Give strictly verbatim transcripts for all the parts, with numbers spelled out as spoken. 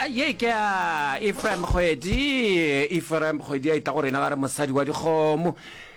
Ye ke ya Ephraim Kgwedi. Ephraim Kgwedi a etla go rena ga re mosadi wa dikgomo.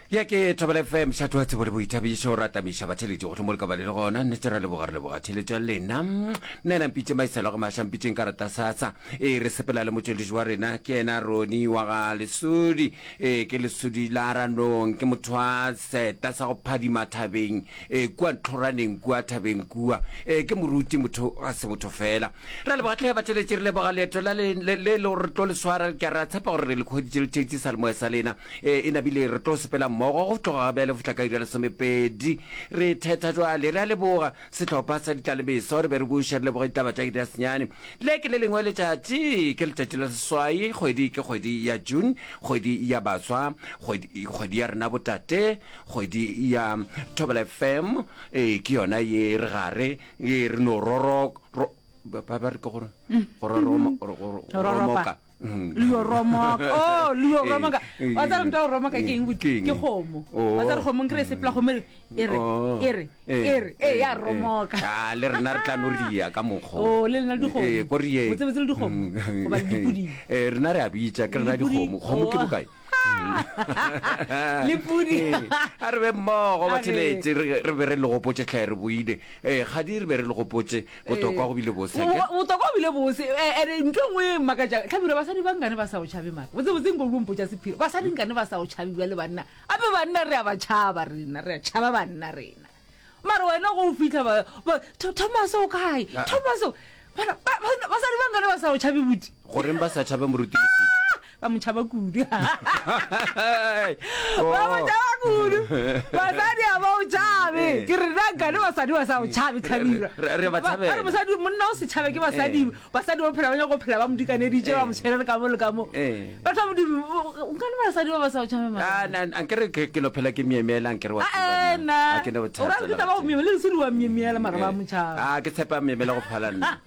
Ya ke Thobela F M, mošate wa tsebo le boithabišo, ra tamiša batheeletši gohle mo le ka ba le le gona. Nnete ra leboga, re leboga theeletšo ya lena. Nna ena mpitše Maisela go maša, mpitšeng ka rata sasa. Ee, re sepela le motšweletši wa rena, ke yena Roni wa ga Lesodi. Ee, ke Lesodi la Ranong, ke motho wa seta sa go phadima thabeng, ee, kua ntlhoraneng kua thabeng kua. Ee, ke moruti, motho ga se motho fela. Ra leboga hle batheeletši, re leboga leeto la le, le, le le gore re tlo le swara. Ke a re a tshepa gore re le hweditše le theetše salemoya sa lena. E, e nabile re tlo sepela mmogo go tloga bjale go fihla ka iri ya lesomepedi. Re thetha jwale. Re a leboga sehlopha sa ditlalemeso. Re be re buše re leboge ditaba tša iri ya senyane. Le ke le lengwe letšatši, ke letšatši la seswai, kgwedi ke kgwedi ya June, kgwedi ya baswa, kgwedi, kgwedi ya rena botate, kgwedi ya Thobela F M. E, ke yona ye re gare, ye re no roro, ro, ba, ba re ke gore, go roroma, go, go, go romoka. Leo romoka. Oh, leo romoka. Eh, Wa tseba ntho ya go romoka ke eng? Ke eng? Ke kgomo. Oh. Wa tseba kgomo nkere e sepela kgomo e re, e re, Oh. e re, Eh, e re, e ya eh, romoka. Ah, le rena re tla no ria ka mokgo. Oh, le lena le dikgomo. Eh, ko rieng. Botsebotse le dikgomo. Mm. Goba le dipudi. Eh, rena re a bitša, ke rena Le dipudi. dikgomo. Kgomo ke Oh. bokae? Le pudi. Eh, a re be mmogo, A re. batheletše, re, re be re le gopotše hle, re boile. Eh, kgadi re be re le gopotše, botokwa go bile bose, Bo- ke? bo- botokwa go bile bose. Eh, ene ntho e nngwe e mmakatšang, Hlabirwa, basadi ba nkane ba sa o tšhabe mara. Botsebotse nko o mpotša sephiri. Basadi nkane ba sa o tšhabe bjale banna. Ape banna re a ba tšhaba rena, re a tšhaba banna rena. Mara wena go o fihla ba, ba, Tho-, Thomas o kae? Ah. Thomas o, bana, ba, ba, basadi ba nkane ba sa o tšhabe buti? Goreng ba sa tšhabe moruti Lesodi? Ba mo tšhaba kudu. Oh. Ba mo tšhaba kudu. Basadi ha ba o tšhabe. Ke re nna nkane basadi ba sa o tšhabe, Hlabirwa. Re, re ba Ba, ba re tšhabela. mosadi, monna o se tšhabe ke basadi. Eh. Basadi ba phela ba nyaka go phela ba mo dikaneditše, ba mo Eh. tshwere le ka mo le ka mo. Eh. Batho ba Modimo, nkane basadi ba ba sa o tšhabe mara? Ah, na, na, nkere ke, ke no phela ke myemyela, nkere wa Ah, tseba eh, nna. nna. Ha ke ne bothata O ra re ke le taba go gatee. myemyela, le Lesodi wa myemyela, mara ba Eh. mo tšhaba. Ah, ke tshepa myemyela go phala nna.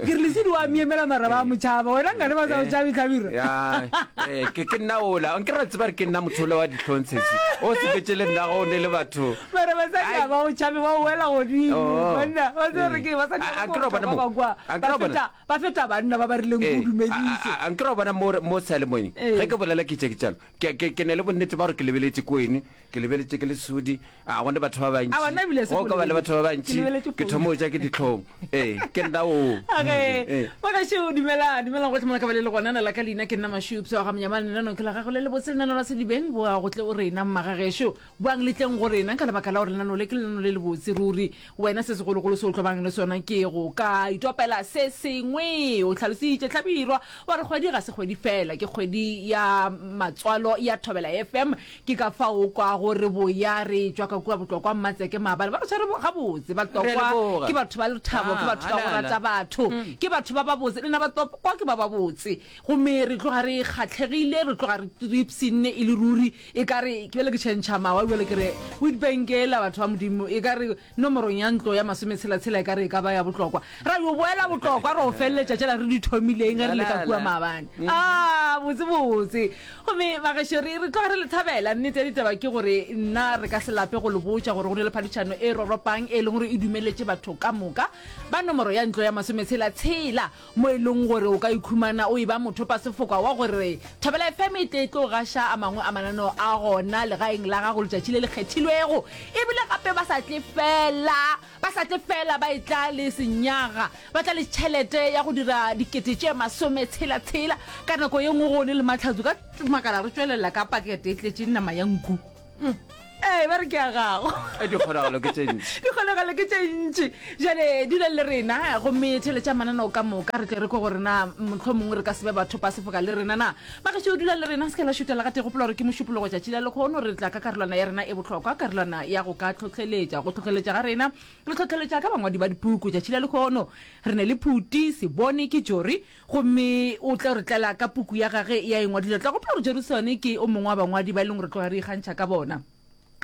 Ke re Lesodi wa myemyela, mara ba mo tšhaba. Wena nkane ba sa o tšhabe, Hlabirwa? Ya, eh, ke, ke nna ola. Nkere wa tseba re ke nna motho ola wa dihlong sesi. O sepetše le nna go ne le batho. Mara basadi Ai. ha ba o tšhabe, ba o wela godimo. Oh. Banna, ba tseba re ke basadi A- ba a nkere wa bona ba mo? ba kwa, A ba nkere wa bona? feta, ba feta banna ba ba rileng Eh, ko a- dumedise. a- a nkere wa bona mo re-, mo seyalemoyeng? Eh. Ge ke bolela ke tše ke tšalo. Ke, ke, ke ne le bonnete ba gore ke lebeletše kwene, ke lebeletše ke Lesodi, a gone batho ba bantši. A bona ebile se Go ka ba le go batho ba lebeletše. bantši, Ke lebeletše ke thoma go ja ke dihlong. Ee, ke nna oo. Okay. Ee. Bagaešo, dumela, dumelang gohle mo le ka ba le le gona. Na la ka leina ke nna Mašupša wa ga Monyamane. Lenaneo ke la gago le lebotse, lenaneo la Sedibeng. Boa go tle o rena, mmagagešo. Boang le tleng go rena ka lebaka la gore lenaneo le ke lenaneo le lebotse ruri. Wena se segologolo se o tlo bang le sona ke go ka itopela se sengwe. O hlalositše Hlabirwa wa re kgwedi ga se kgwedi fela, ke kgwedi ya matswalo ya Thobela F M. Ke ka fao o kwago re boya re tšwa ka kua Botlokwa Mmatseke maabane. Ba re tshwere gabotse Batlokwa, Re a leboga. ke batho ba lethabo, ke Ah, batho ba go ala, ala. rata batho, ke batho ba babotse. Lena Batlokwa ke ba babotse. Gomme re tloga re kgahlegile, re tloga re ipshinne e le ruri. E ka re ke bjale ke tšhentšha mawa, bjale ke re Witbank ela batho ba Modimo, e ka re nomorong ya ntlo ya masometshela-tshela e ka re e ka ba ya Botlokwa. Ra yo boela Botlokwa, ra o feleletša tšela re di thomileng ge re le ka kua maabane. Ah, botse botse. Gomme bagešo, re, re tloga re le thabela. Nnete ya ditaba ke gore nna re ka se lape go le botša gore go ne le phadišano e roropang e leng gore e dumeletše batho ka moka ba nomoro ya ntlo ya masometshela-tshela, mo e leng gore o ka ikhumana o e ba mothopasefoka wa gore Thobela F M e tle e tlo gaša a mangwe a mananeo a gona legaeng la gago letšatši le le kgethilwego. Ebile gape ba sa tle fela, ba sa tle fela ba etla le senyaga, ba tla le tšhelete ya go dira dikete tše masometshela-tshela. Ka nako ye nngwe go ne le mahlatso ka makala re tšwelela ka pakete e tletše nama ya nku. Mm. Ee, ba re ke ya gago. Eh, dikgonagalo ke tše ntši. Dikgonagalo ke tše ntši. Jale dula le rena gomme theeletša mananeo ka moka, re tle re kwe gore na mohlomongwe re ka se be bathopa sefoka le rena na. Bagešo, dula le rena, se ke la šutela gate. Gopola gore ke mošupologo tšatši la lekgono, re tla ka karolwana ya rena e bohlokwa, karolwana ya go ka hlohleletša. Go hlohleletša ga rena, re hlohleletša ka bangwadi ba dipuku. Tšatši la lekgono re ne le Phuti Sebone ke Jori, gomme o tla re tlela ka puku ya gage ya e ngwadile. Tla gopola gore Jerusone ke o mongwe wa bangwadi ba e leng gore tloga re ikgantšha ka bona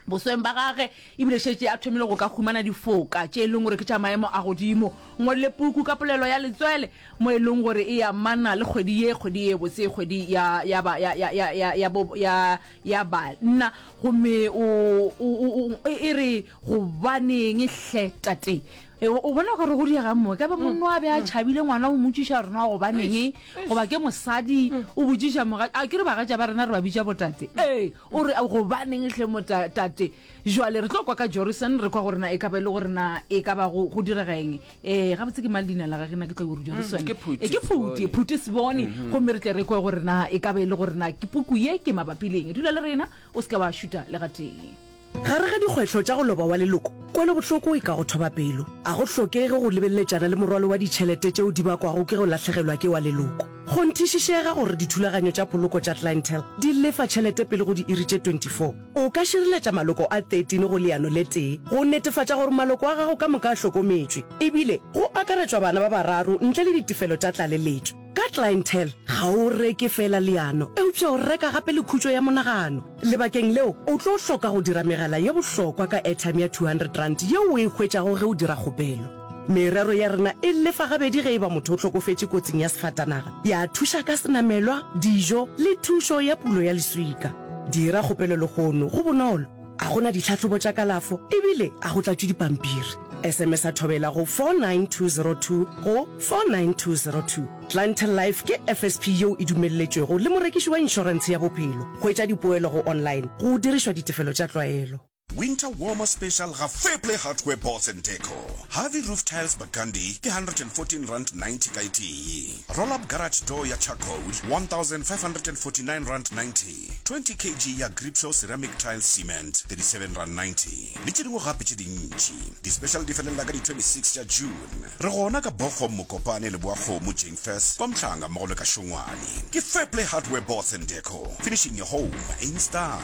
bosweng ba gage, ebile šetše a thomile go ka humana difoka tše e leng gore ke tša maemo a godimo. Ngwadile puku ka polelo ya letswele mo e leng gore e amana le kgwedi ye, kgwedi ye botse, kgwedi ya, ya ba, ya, ya, ya, ya, ya bo, ya, ya banna. Gomme o, o, o, o, e re gobaneng hle tate? E, o bona gore go diega mo ka ba monna a be a tšhabile ngwana o mmotšiša gore na gobaneng goba ke mosadi o botšiša moga a ke re bagatša ba rena re ba bitša botate ee o re gobaneng hle mo ta- tate jwale re tlo kwa ka Jorison re kwa gore na e ka ba e le gore na e ka ba go go direga eng um gabotse ke mang leina la gage na ke tlo gore Jorison ke Phuti Eh, ke Phuti Sebone. Phuti Sebone gomme re tle re kwe gore na e ka ba e le gore na ke puku ye ke mabapi le eng dula le rena o se ka wa šuta le gatee Gare ga dikgwetlho tša go loba wa leloko, kwelobohloko e ka go thoba pelo. A go hlokege go lebeleletšana le morwalo wa ditšhelete tšeo di bakwago ke go lahlegelwa ke wa leloko. Kgonthišišega gore dithulaganyo tša poloko tša Clientele di lefa tšhelete pele go diiri tše twenty four. O ka šireletša maloko a thirteen go leano le tee go netefatša gore maloko a gago ka moka a hlokometšwe, ebile go akaretšwa bana ba bararo ntle le ditefelo tša tlaleletšo. Ka Clientele, ga o reke feela leano, eupša o reka gape le khutšo ya monagano. Lebakeng leo, o tlo hloka go dira megala ye bohlokwa ka airtime ya two hundred rand yeo o e hwetšago ge o dira kgopelo. Merero ya rena e lefa gabedi ge e ba motho o hlokofetše kotsing ya sefatanaga, ya thuša ka senamelwa, dijo le thušo ya pulo ya leswika. Dira kgopelo lehono, go bonolo, a go na ditlhahlobo tša kalafo ebile a go tlatšwe dipampiri. S M S a thobela go four nine two zero two go four nine two zero two. Clientele Life ke F S P yeo e dumelletšwego le morekiši wa inšorentshe ya bophelo. Hwetša dipoelo go online go dirišwa ditefelo tša tlwaelo. Winter Warmer Special ga Fairplay Hardware Boards and Deco. Harvey Roof Tiles Burgundy ke hundred and fourteen rand ninety ka e tee. Roll Up Garage Door ya Charcoal one thousand five hundred and forty-nine rand ninety. twenty kilograms ya Gripshow Ceramic Tile Cement thirty-seven rand ninety. Le tše dingwe gape tše dintši. Di-special di felela ka di twenty-six tša June. Re gona ka Bochum, Mokopane, Leboakgomo, Jane Furse, kwa Mhlanga mmogo le ka Šongwane. Ke Fairplay Hardware Boards and Deco. Finishing your home in style.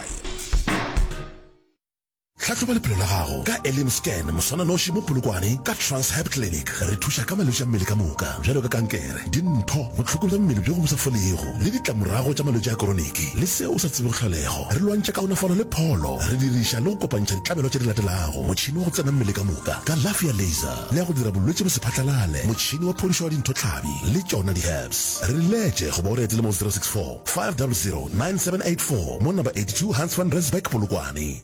Hlahloba lephelo la gago ka Elim Scan moswananoši mo Polokwane ka Transhab Clinic. Re thuša ka malwetši a mmele ka moka bjalo ka kankere, dintho, bohloko bja mmele bjo bo sa folego le ditlamorago tša malwetši a koroniki le seo o sa tsebego tlholego. Re lwantšha kaonafalo le pholo, re diriša le go kopantšha ditlabelo tše di latelago: motšhini wa go tsena mmele ka moka, kalafi ya laser le ya go dira bolwetši bo se phatlalale, motšhini wa phodišo wa dinthotlhabi le tšona di-herbs. Re letše goba o re etele mo zero six four, five double zero, nine seven eight four mo number eighty-two Hans van Rensburg, Polokwane.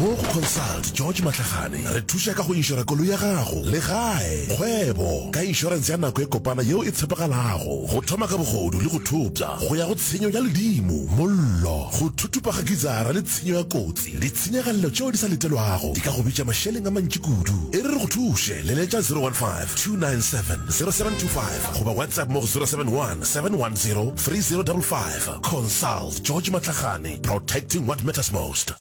Mo go Consult George Matlagane re thuša ka go inšora koloi ya gago, legae, kgwebo ka inšorense ya nako e kopana yeo e tshepagalago, go thoma ka bogodu le go thopša go ya go tshenyo ya ledimo, mollo, go thuthupa ga gizara le tshenyo ya kotsi. Ditshenyagalelo tšeo di sa letelwago di ka go bitša mašeleng a mantši kudu. E re re go thuše, leletša zero one five, two nine seven, zero seven two five goba WhatsApp mo go zero seven one, seven one zero, three zero double five. Consult George Matlagane, protecting what matters most.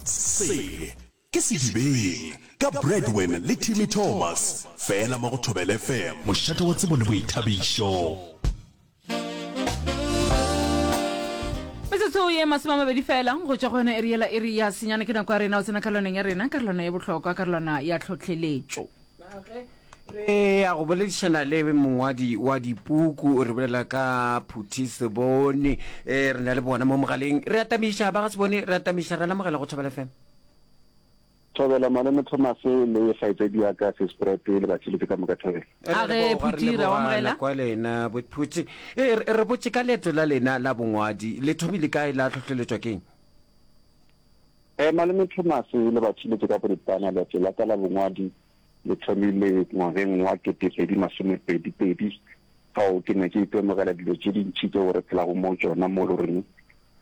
Se ke Sedibeng ka Bradwin le Timmy Thomas fela mo go Thobela F M, mošate wa tsebo le boithabišo. Metsotso ye masome a mabedi fela go tšwa go yona iri yela iri ya senyane ke nako ya rena o tsena karolwaneng ya rena, karolwana ye bohlokwa, karolwana ya tlhohleletšo. Re ya go boledišana le mongwadi wa dipuku, re bolela ka Phuti Sebone. Eh, re na le bona mo mogaleng. Re atamiša ba ga Sebone, re atamiša, re lamogela go Thobela F M. Thobela malome Thomas le kgaitsedi ya ka Sespread le batšheletše ka moka Thobela. A re Phuti, re amogela. Kwa lena bo Phuti. Eh, re, re botše ka leeto la lena la bongwadi, le thomile kae, la hlohleletšwa keng? Eh, malome Thomas le batšheletše ka boripana, leeto la ka la bongwadi le thomile ngwageng wa kete pedi masome pedi pedi. Fao ke ne ke itemogela dilo tše dintši tšeo re phelago mo tšona mo le goreng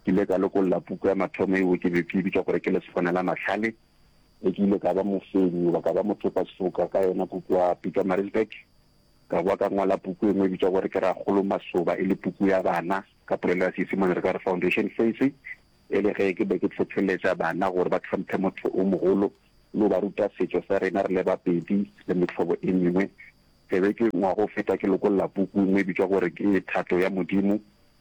ke ile ka lokolla puku ya mathomo eo ke be ke e bitša gore ke Lesogana la Mahlale. E ke ile ka ba mofenyi goba ka ba mothopasefoka ka yona puku ya Pietermaritzburg. Ka boa ka ngwala puku e nngwe e bitšwa gore ke Rakgolo Masoba, e le puku ya bana ka polelo ya Seisemane re ka re Foundation Phase, e le ge ke be ke hlohleletša bana gore ba hlomphe motho o mogolo le go ba ruta setšo sa rena re le bapedi le mehlobo e mengwe. Ke be ke ngwaga o feta ke lokolla puku e nngwe e bitšwa gore ke Thato ya Modimo.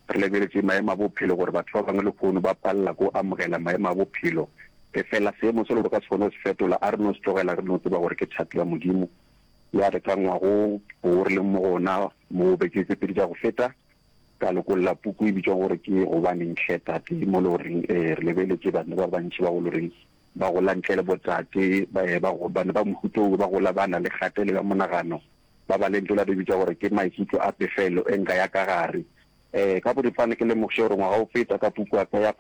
Re lebeletše maemo a bophelo gore batho ba bangwe lehono ba palela ko amogela maemo a bophelo, e fela seemo se le gore ka se kgone go se fetola, a re no se tlogela, re no tseba gore ke thato ya Modimo. Ya re ka ngwago wo re leng mo go ona mo beke tse pedi tša go feta, ka lokolla puku e bitšwa gore ke Gobaneng Hle Tate, mo le goreng, eh, re lebeletše bana ba bantši ba go le goreng ba gola ntle le botate, ba, eh, ba go, bana ba mohuta oo ba gola ba na le kgatelelo ya monagano, ba ba le ntho la re bitša gore ke maikutlo a pefelo e nka ya ka gare. Eh, ka boripana ke lemogiše gore ngwaga o feta ka puku ya ka ya,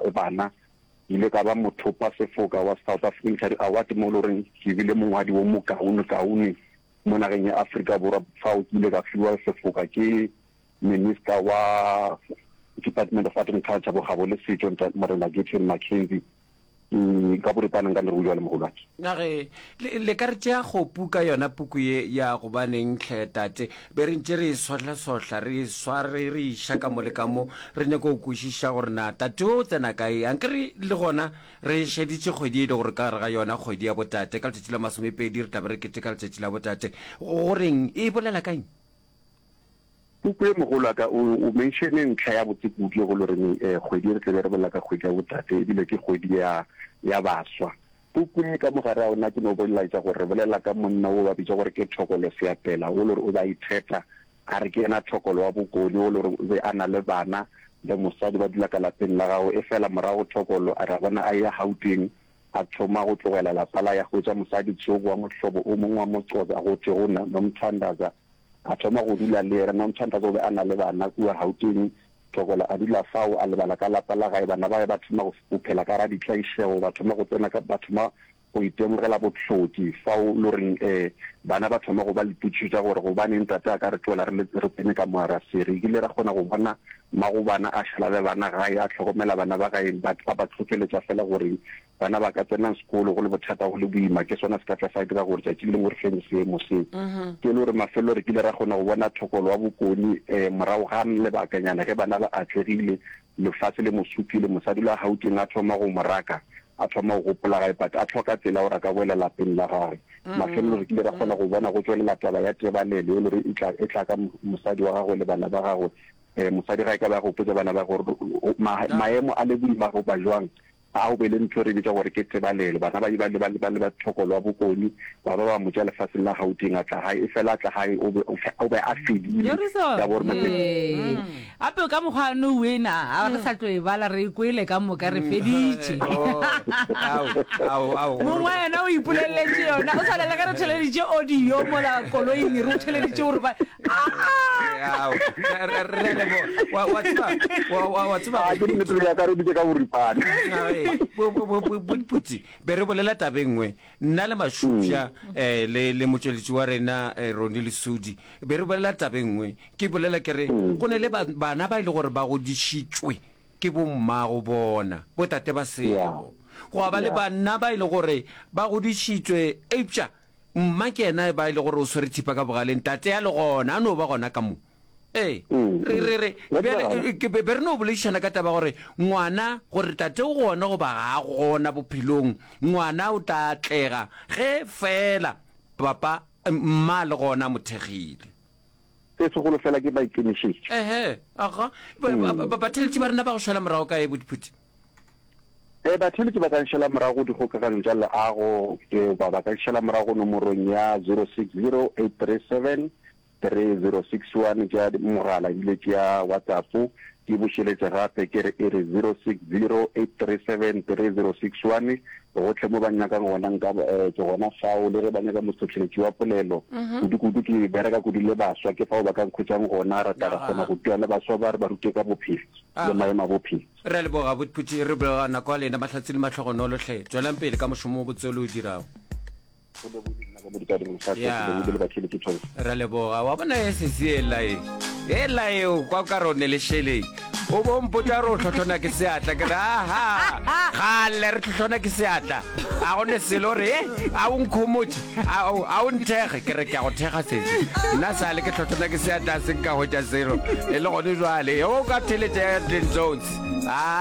ya bana, Ke ile ka ba mothopa sefoka wa South African Literary Award mo e le goreng ke bile mongwadi wo mokaonekaone mo nageng ya Afrika Borwa. Fao ke ile ka fiwa sefoka ke Minister wa Department of Art and Culture, Bokgabo le Setšo, Ntate Morena Gayton McKenzie. Ke ka boripana nka le go bjalo mogolwake. Na ge le, le ka re tšea kgopu ka yona puku ye ya Gobaneng Hle Tate? Be re ntše re e sohlasohla, re e sware, re e iša ka mo le ka mo, re nyaka go kwešiša gore na tate o o tsena kae. Anke re le gona re šeditše kgwedi ye e le gore ka gare ga yona kgwedi ya botate, ka letšatši la masomepedi re tla be re keteka letšatši la botate. Go reng? E bolela ka eng? Puku ye mogolo wa ka o o menšene ntlha ya botse kudu ye go le goreng eh, kgwedi ye re tla be re bolela ka kgwedi ya botate ebile ke kgwedi ya ya baswa. Puku ye ka mo gare ga yona ke no bolaetša gore re bolela ka monna wo ba bitša gore ke Thokolo Seapela wo le gore o be a itheta a re ke yena Thokolo wa Bokone wo le gore o be a na le bana le mosadi ba dula ka lapeng la gagwe efela morago Thokolo a ra bona a eya Gauteng a thoma go tlogela lapa la ya hwetša mosadi tsoko wa mohlobo o mongwe wa Moxhosa go thwego Nomthandaza A thoma go dula le yena. Nomthandazo o be a na le bana kua Gauteng. Thokola a dula fao, a lebala ka lapa la gae. Bana ba gae ba thoma go, go phela ka gare ga ditlaišego, ba thoma go tsena ka, ba thoma go itemogela bohloki. Fao lo reng, eh, bana ba thoma go ba le potšišo tša gore gobaneng tate a ka re tlogela re le, re tsene ka mo gare ga se. Re kile ra kgona go bona mmago bana a šala le bana gae, a hlokomela bana ba gae, ba, a ba hlohleletša feela gore Bana ba ka tsena sekolo go le bothata go le boima, ke sona se ka tla sa dira gore tšatši le lengwe re fenye seemo se. Ke e le gore mafelelo re kile ra kgona go bona Thokolo wa Bokone morago ga lebakanyana ge bana ba atlegile, lefase le mo supile, mosadi la Gauteng a thoma go mo raka, a thoma go gopola gae but a hloka tsela gore a ka boela lapeng la gagwe. Mafelelo re kile ra kgona go bona go tšwelela taba ya tebalelo e le gore e tla e tla ka mosadi wa gagwe le bana ba gagwe. Mosadi ga e ka ba a gopotša bana ba gagwe gore maemo a le boima goba jwang, A go be le ntho e re bitša gore ke tebalelo. Bana ba ba ba ba leba Thokolo wa Bokone, ba ba ba mo tšea lefaseng la Gauteng, a tla gae. Efela a tla gae, o be, o be a fedile. Joriso, Ya bo re motse. Ee. Gape ka mokgwa no wena, a re sa tlo e bala, re e kwele ka moka, re feditše. Oh, ao, ao, ao. Mongwe wa yena o ipoleletše yona, o swana le ge re theleditše audio mola koloing, re o theleditše gore ba, Putsi be re bolela taba e nngwe nna le Mašupša um le le motšweletši wa rena Roni Lesudi be re bolela taba e nngwe ke bolela ke re go ne le bana ba e le gore ba godišitšwe ke bommago bona botate ba sego gwa ba le banna ba e le gore ba godišitšwe eupša Mma ke yena ba e le gore o swere thipa ka bogaleng, tate a le gona, a no ba gona ka mo. Ee, re, re, re, bjale, ke, be re no boledišana ka taba gore ngwana, gore tate o gona goba ga a gona bophelong, ngwana o tla atlega ge feela papa, mma a le gona a mo thekgile. Se segolo fela ke maikemišetšo. Ehe, aga. Ba, ba, batheeletši ba rena ba go šala morago kae, Botiphuti? Ee, batheeletši ba ka nšala morago go dikgokaganyo tša leago goba ba ka nšala morago nomorong ya zero six zero eight three seven three zero six one tša mogala ebile ke ya WhatsApp. Ke bušeletše gape ke re e re zero six zero eight three seven three zero six one. Gohle mo ba nnyakang gona nka ke gona fao, le ge ba nyaka mohlohleletši wa polelo kudu-kudu ke bereka kudu le baswa, ke fao ba ka nkhwetšang gona, ra tla ra kgona go tua le baswa ba re ba rute ka bophelo le maemo a bophelo. Re a leboga Botphuthi, re leboga nako ya lena, mahlatse le mahlogonolo hle. Tšwelang pele ka mošomo o botse o le o dirago. Go lebogile nna ka mo ditading Mosadi, Ya. ke lebogile le batheeletši Thobela. Re a leboga. Wa bona e sesi ela e. Ela e o kwa o ka re o ne le šeleng. O bo mpotša gore o hlohlona ke seatla ke re aha gale re hlohlona ke seatla. A go ne selo re e a o nkhomotše a o a o nthekge ke re ke a go thekga sesi. Nna sale ke hlohlona ke seatla a se nka hwetša selo e le gone jwale. O ka theletša ya Glen Jones. A